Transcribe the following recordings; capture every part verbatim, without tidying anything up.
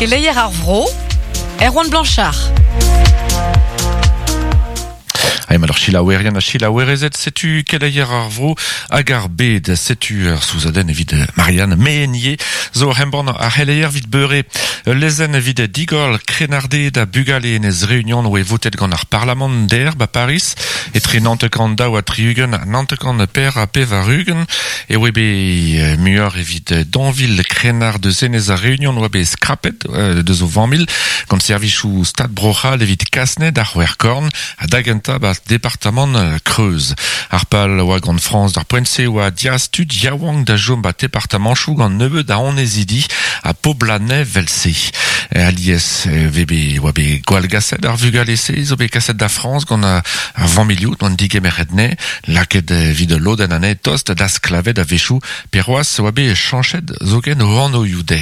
Keleier ar vro, Erwan Blanchard. Haim alors chilaouerien a chilaouerezet, setu keleier ar vro hag ar bed, setu ar souzaden evit Marianne Meenier, zo hemban ar c'heleier vit beure lezen evit digol krenarde da bugale enez reunion oe votet gant ar Parlement der ba Paris, etre nantekan daou a triugen, nantekan per a pevarugen, e oe be muioc'h evit danvil krenar de zenez ar reunion oe be skrapet deus o vanmil, gant servichou stad brochal evit kasnet ar c'hwerkorn, a dagenta ba département Creuse. Ar pal oa gant France d'ar poent-se oa diaz tud yaouank da jom ba département chou gant nebeud da onezidi a poblanais velse. Alies vebe oa be gwall gaset ar vugale-se zo be kaset da France gant ar vanmiliout gant digemeret ne laket vid loden ane tost da sklavet a vechou peroaz oa be chanchet zoken o anno youde.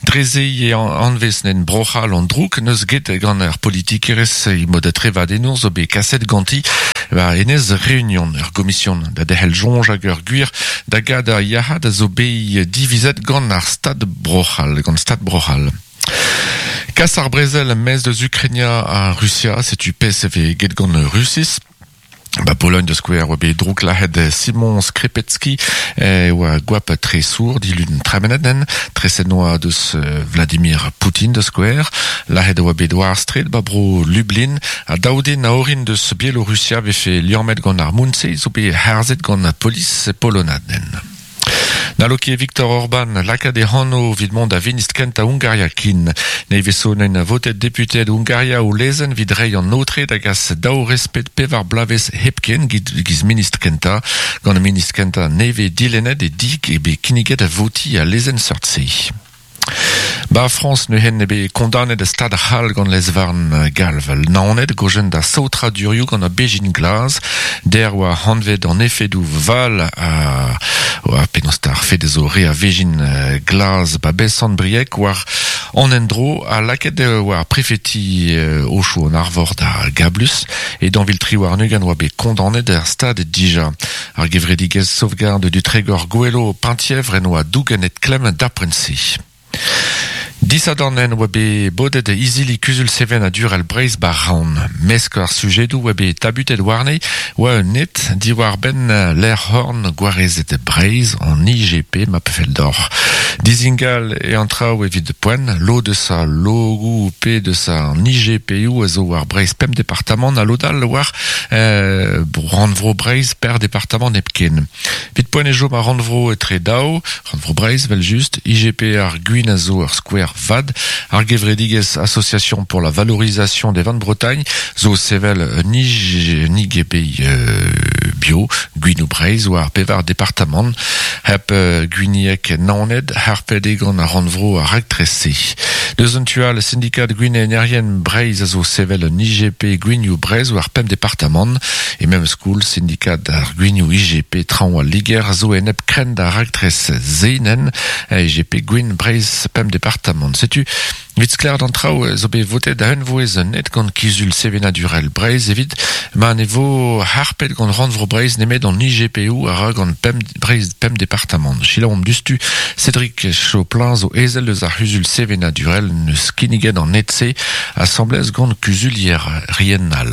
Dreze e anvez nen brochal an drouk neus get gant ar politikerez i mod trevadenour zo be kaset ganti ba enez reunion ur gomision da dehel jonj hag ur gwir da gad ar yahad a zo be divizet gant ar stad brochal, gant stad brochal. Kas ar brezel mez deus Ukrainia a Russia, setu pes eve get gant Russis. Ba Pologne de Square oa bet drouk lahet Simon Skrepetski eh, oa gwap tre sour dilun tremeneden treset noa deus Vladimir Poutine de Square lahet oa bet war street ba bro Lublin a daouden a orin deus Bielorussia vefe liammet gant ar Mounse zo bet harzet gant polis polonaden. Naloke Viktor Orban lakaat e hanno vid mont da vinist kent a Hungaria kin. Ne vezo nen votet deputed Hungaria o lezen vid rei an notre da gas daou respet pevar blavez hepken giz ministr kenta. Gant ministr kenta neve dilenet e dik e be kinniget a voti a lezen seurt-se. Ba France ne hen ebe kondanet a stad c'hall gant lezvarn galv. Naonet gojen da saotra durioù gant a bejin glaz, der oa hanvet an efedou val a oa penaos ar fed zo re a vejin glaz ba besan briek war an endro a laket oa prefeti ocho an arvor da Gablus e danvil tri war nugan oa bet kondanet ar stad dija. Ar gevredigez sauvegarde du Trégor Goelo Penthièvre en oa dougenet klem d'aprensi. Disadanen oa bet bodet izili kuzul seven a durel breiz bar raon. Mesk ar sujedou oa bet tabutet warne oa un net diwar ben l'air horn gwarezet breiz an I G P ma pefeldor. Dizingal e an traoù evit poen, lo de sa logou pe de sa an I G P ou a zo war breiz pem departement a lodal war euh, rannvro breiz per departement nepken. Vit poen e jo ma rannvro etre daou, rannvro breiz vel just, I G P ar gwin a zo ar square V A D, ar gevredigez Association pour la valorisation des vins de Bretagne, zo sevel ni ni G P euh, bio, Gwinou Breiz, war pevar departement, hep euh, Gwiniek Naoned, harped egan ar rannvro ar raktrese. Deus an tual syndikat Gwin Enerien Breiz a zo sevel un I G P Gwiniou Breiz war pemp departement, e même school syndikat ar Gwiniou I G P traoñ al Liger a zo enep kren da raktres zeinen I G P Gwin Breiz pemp departement. Setu, vit skler d'an traoù zo bet votet da unvouez net gant kizul sevenadurel Breiz evit ma ne vo harpet gant rannvro Breiz nemet an I G P O a ra gant pemp Breiz pemp departement. Chilaomp dustu Cédric Choplin zo ezel eus ar c'huzul sevenadurel neus kinniget an net-se assemblez gant kuzulier riennal.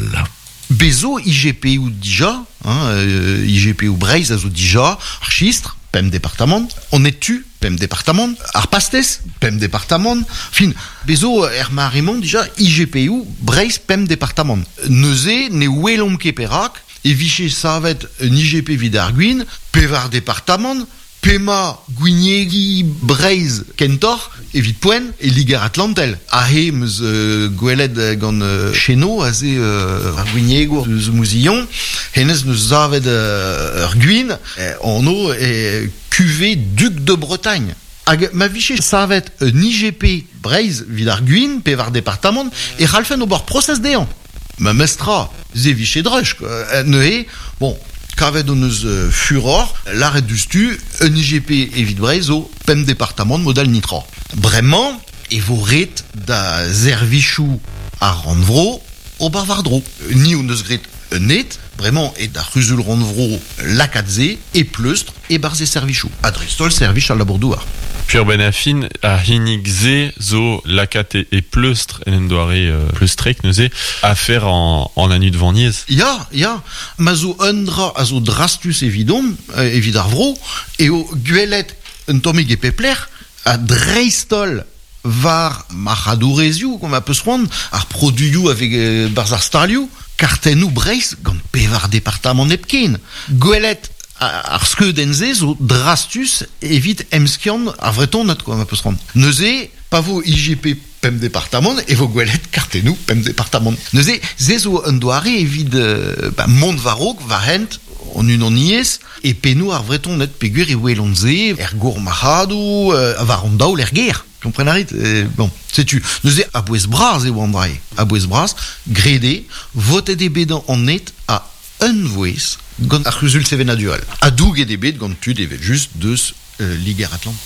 Bezo I G P O dija, hein, euh, I G P O Breiz a zo dija, ar chistre, pemp departement, on est tu, pemp departement, ar pastes, pemp departement, fin, bezo er maremont dija I G P O Breiz pemp departement. Neuze ne welomp ket perak, e viche savet un I G P vid ar gwin, pevar departement, Pema Gwiniegi Breiz Kentor evit poen e Liger Atlantel. Ahe meus euh, gwelet gant euh, cheno aze euh, ar Gwiniego eus Mouzillon, hennez neus zavet euh, ur gwin, eh, anno e cuvée Duc de Bretagne. Hag ma viche savet un I G P Breiz vid ar gwin, pevar departement, e c'hallfen ober prosez dezhañ. Ma mestra, ze viche drech, quoi. Neuze, bon, kavet hon eus euh, furor, l'arrêt du stu, un I G P evit Breiz zo pemp departement modal nitra. Bremañ, e vo ret da zervichou ar rannvro ober war-dro. Ni hon eus gret un net, bremañ e da c'huzul rannvro lakatze e pleustr e barz e servichou. A dreist-holl servich al labour-douar. Pur ben a fin a hinig ze zo lakat e, e pleustr en en doare euh, pleustrek neuze a fer en, en anu de vaniez. Ya, ya, ma zo un dra a zo drastus evidom, euh, evid ar vro, eo gwelet un tammig e pepler a dreistol var marc'hadourezioù kom a peus c'hoant, ar produioù avec euh, barz ar stalioù, kartennoù Breizh gant pevar departamant hepken. Gwelet ar skeudenn se zo drastus evit emskiant ar vretoned kom a peus c'hoant. Neuze, pa vo I G P pemp departamant, e vo gwelet kartennoù pemp departamant. Neuze, se zo un doare evit euh, ba, mont war-raok, war hent, an unaniez, e pennoù ar vretoned peogwir e welont se, er gour marc'hadoù, euh, war an daol er gêr. Kompren a rit, euh, bon, setu, neuze a bouez bras eo an drae. A bouez bras, grede, votet e bet an net a un vouez gant ar c'huzul sevenadural. A douget e bet gant tud evel just deus euh, Liger Atlant.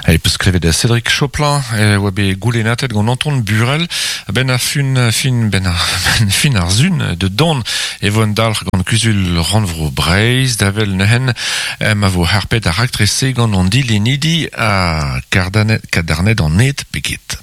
E peus klevet da Cédric Choplin, e oa bet goulennatet gant Anton Burel, ben a fin, fin, ben a, ben fin ar zun de don e vo an dalc'h gant kuzul rannvro Breizh, davel neuhen, ma vo harpet ar raktrese gant an dilenidi a kardanet, kadarnet an net peget.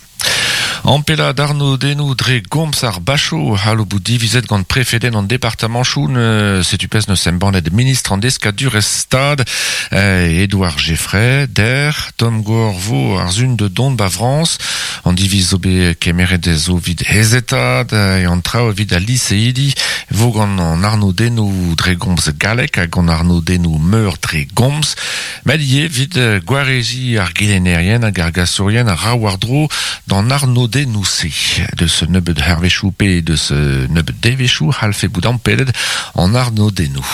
Ampela d'Arnaud denou dre gomz ar bacho halo bout divizet gant prefeden an departamanchou ne setu pez neus embannet ministre an deskadur stad eh, Édouard Geffray der Tom Gorvo ar zun de don ba Frans an diviz zo bet kemeret zo vid hezetad e an trao vid a liseidi vo gant an Arnaud denou dre gomz galek hag an Arnaud denou meur dre gomz met ivez vid gwarezi ar gelennerien hag ar gasourien ar ra war dro d'an Arnaud Denousé de ce nebeud hervechou pe de ce nebeud devechou halfe bout ampelet en Arnaud Denou.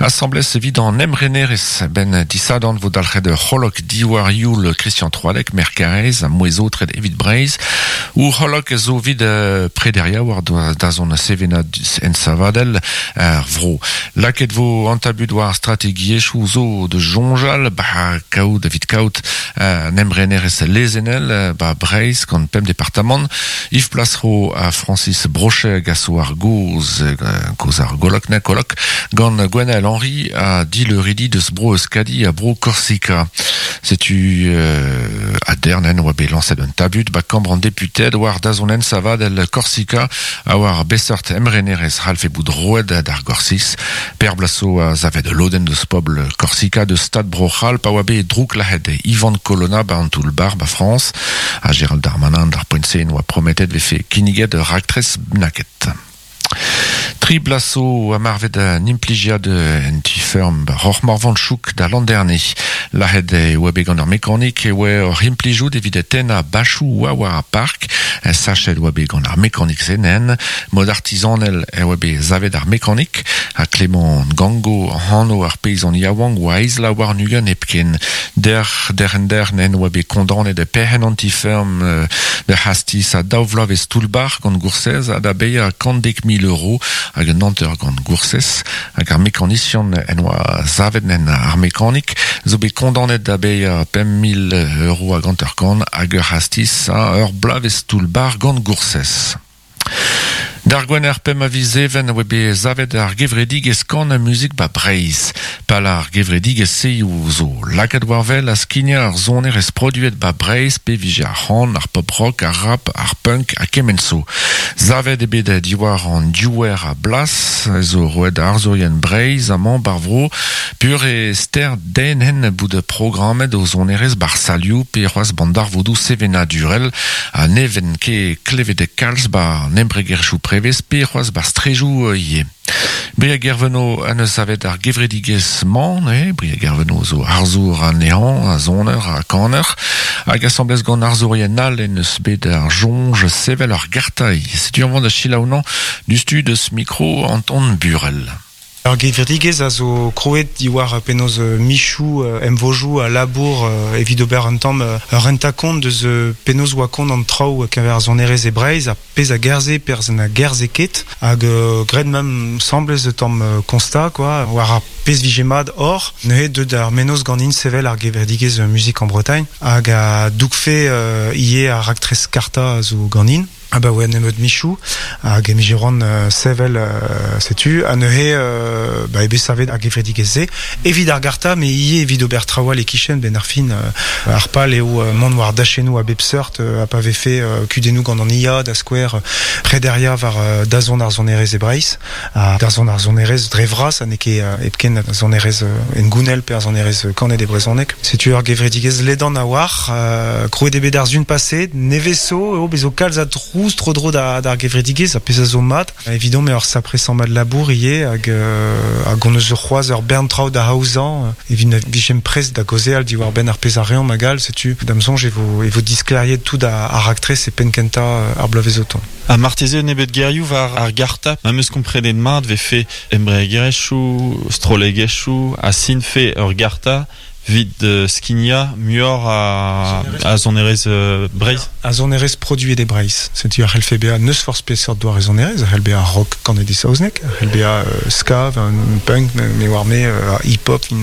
Assemblée evit an emrenerez ben disadan vo dalc'het c'holok diwar youl Christian Troalec, Merkarez, a mouezo tred evit Breizh, ou c'holok zo vid prederia war da zon sevena en savadel ar vro. Laket vo an tabut war strategiezhioù zo de jonjal, ba kaout evit kaout an emrenerez lezenel ba Breizh gant pemp departamant, Yves Plasro a Francis Brochet gaso ar goz, goz ar golok na kolok, gant Gwenaël Henry a dit le ridi de bro Euskadi a bro Corsica. Setu euh, a dernen oa bet lañset un tabut ba kambr an deputed war dazonen savad el Corsica a war besort emrenerez ralfe bout roed d'ar Gorsis. Per blaso a zavet loden deus pobl Corsica de stad bro c'hall pa oa bet drouk lahet Ivan Colonna ba an toull-bar ba France a Gérald Darmanin d'ar poent-se oa prometet vefe kinniget raktres naket. Tri blaso a marvet an implijiad en ti-ferm roc'h morvan chouk da l'an dernier. Lahet e oa bet gant ar mekanik e oa ur implijout evit tenna bachou oa war ar park, sachet oa bet gant ar mekanik zenen, mod artisanel e oa bet zavet ar mekanik, a Clément Gango hano ar peizan yaouank oa eizla war nugen hepken. Der, der en der nen oa bet kondanet de perc'henn an ti-ferm de hastis a daou vloavezh toull-bar gant goursez ha da bezañ kant dek mil euro hag un hanter gant goursez hag ar mekanisian en oa zavet nen ar mekanik zo bet kondanet da bezañ pemp mil euro hag hanter kant hag ur hastis a ur bloavezh toull-bar gant goursez. D'ar gwener pemp a viz even oa bet zavet ar gevredigezh kan a muzik ba Breizh. Pal ar gevredigezh seioù zo lakaat war wel a skignañ ar sonerezh produet ba Breizh pe vije ar c'han, ar pop rock, ar rap, ar punk ha kement zo. Zavet eo bet diwar an diouer a blas zo roet arzourien Breizh amañ bar vro pur e ster den hen bout programmet o sonerezh bar salioù pe c'hoazh bandarvoudoù sevenadurel a neven ket klevet kalz ba embregerezhioù prevez pe c'hoazh bar strejoù ivez. Briag Gerveno an eus savet ar gevredigezh man, eh, Briag Gerveno zo arzour anezhañ, a soner, a kaner, hag asambles gant arzourien all en eus bet ar soñj sevel ar gartailh. Setu an vont da selaounañ du stu deus mikro Anton Burel. Ar gevredigezh a zo kroet diwar penaos michou emvojou a labour evit ober un tamm ur renta-kont deus penaos oa kont an traoù keñver ar sonerezh e Breizh a pezh a gerzhe perzh a gerzhe ket hag graet mem semblez tamm constat quoi war ar pezh vije mat hor neuze deut ar mennozh ganin sevel ar gevredigezh Musique en Bretagne hag a dougfe ivez ar raktres karta a zo ganin. Ah bah ouais, nemeut michou, hag emijeron uh, sevel uh, setu, a neuze uh, ba ebe savet hag evredigez-se, evit ar garta, me ie evit ober trawal e kichen ben ar fin uh, ar pal eo uh, mont war dachenou a bep seurt uh, a pa vefe uh, kudennou gant an I A da skouer uh, prederia war uh, dazon ar zonerez e Breiz, ha dazon ar zonerez dre vras, ha ne ket uh, hepken ar zonerez uh, en gounel pe ar zonerez uh, kanet e brezhoneg. Setu ar gevredigez ledan a war, uh, krouet eo bet ar zun paset, neveso, eo bezo kalz a trouz tro dro da, d'ar gevredigez, a pezh a zo mat. Evidon me ur sapre samm mat labour ie, hag, euh, hag on eus ur c'hoaz ur bern traoù da haozañ, evit na vijem prest da gaozeal diwar ben ar pezh a reomp hag all, setu da'm soñj e vo, e vo diskleriet tout a, ar raktres e penn kentañ ar bloavezh o tont. A marteze nebet gerioù war ar garta, ma meus komprenet mat vefe embregerezhioù, strollegezhioù, a sinfe ur garta vid uh, skinia muioc'h a, a sonerezh uh, Breizh. A sonerezh produet e Breizh. Setu ar c'hellfe bezañ neus forzh peseurt doare sonerezh, ar c'hell bezañ rock kanet e saozneg, ar c'hell bezañ uh, ska, un punk, me war me, uh, hip-hop, in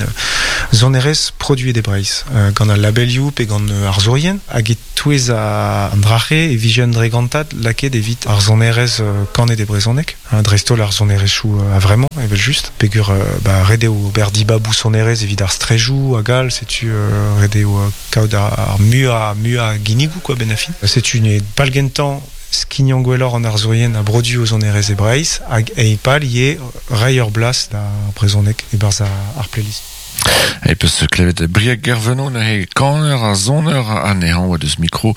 sonerezh produet e Breizh. Uh, gant al labelioù pe gant uh, ar zourien, hag e touez a an drache e vije un dregantad lakaet evit ar sonerezh uh, kanet e brezhoneg, hein, dreist-holl ar sonerezhioù uh, a vraiment, evel just. Pegur uh, ba, ret eo ober dibabou sonerezh evit ar strejoù hag all, setu uh, ret eo uh, kaout ar, ar mua, mua ginigou quoi, ben a fin. Setu ne pal gentañ skignañ gwelloc'h an arzourien a brodu o sonerezh e Breizh hag e pal ie reiñ ur blas da brezhoneg e-barzh ar playlist. E peus klevet Brieg Gerveno neuze kaner a soner anezhañ oa deus mikro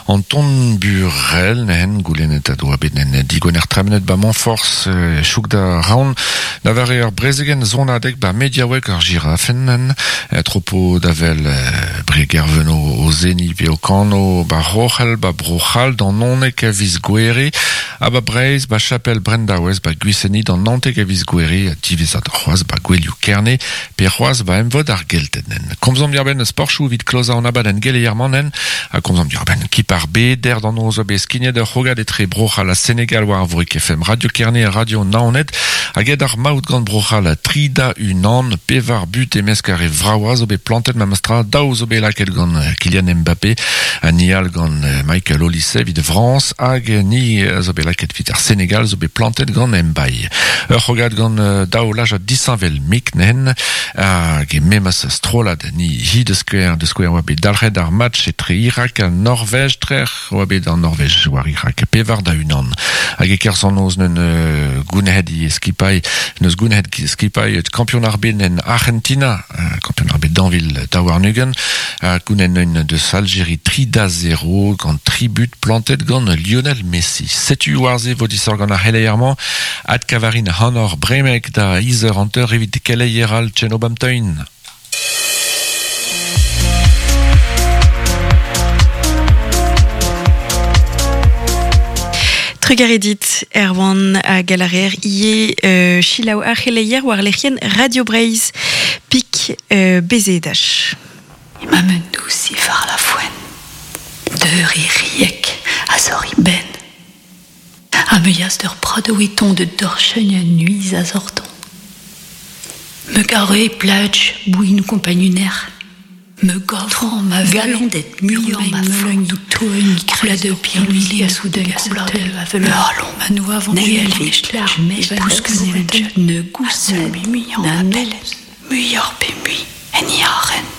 Anton Burel nehen goulennet a doa bet nen digoner tremenet ba Montfort euh, chouk da raon da vare ur brezegen zonadeg ba mediaoueg ar girafen nen tropo davel euh, Brieg Gerveno o zeni pe o kano ba Rochel ba Brochal d'an onek a viz gwere a ba Breiz ba Chapel Brendawez ba Gwiseni d'an nantek a viz gwere a divezad c'hoaz ba Gwelioù Kerne pe c'hoaz ba emvod ar geltenen. Komzomp diarbenn sportchou evit klozañ an abadenn geleier-mañ ha komzomp diarbenn kip ar bed der d'an noz oa bet skignet ur c'hrogad etre Bro-C'hall ha Senegal war ar Vorik F M Radio Kerne ha Radio Naoned hag ed ar maout gant Bro-C'hall tri da unan pevar but e-mesk ar e vraoa zo bet plantet memestra daou zo bet lakaet gant Kylian Mbappé ha ni all gant Michael Olise evit Frañs hag ni zo bet lakaet evit ar Senegal zo bet plantet gant Mbaye. Ur c'hrogad gant daou laj a disheñvel mik nen hag e memes strollad ni hi de skouer de skouer oa bet dalc'het ar match etre Irak ha Norvège trec'h oa bet an Norvège war Irak pevar da unan hag e kerzh an noz neun uh, gounehet i skipailh neus gounehet skipailh kampion ar bed en Argentina kampion ar bed d'Anvil daouarn-ugent ha gounen neun deus Algérie tri da zero gant tri but plantet gant Lionel Messi. Setu war-se vo disoc'h gant ar c'heleier-mañ ad kavarin hanor bremek da izer hanter evit keleier al Tchenobamteun. Trugaredit Erwan a galarer ie euh, chilaou ar c'heleier war lec'hien Radio Breizh pik euh, bezedach. Ima men dous far la foen, deur i riek a zor i ben. A me yas d'ur prado eton de dorchegne nuiz a zorton. Me gare plage bouin compagnuner. Me gavran ma galandet mur ma meuleun toen de pierre lui a soudain a me allons ma nous avant ne gousse na mel muior pe mui en iaren.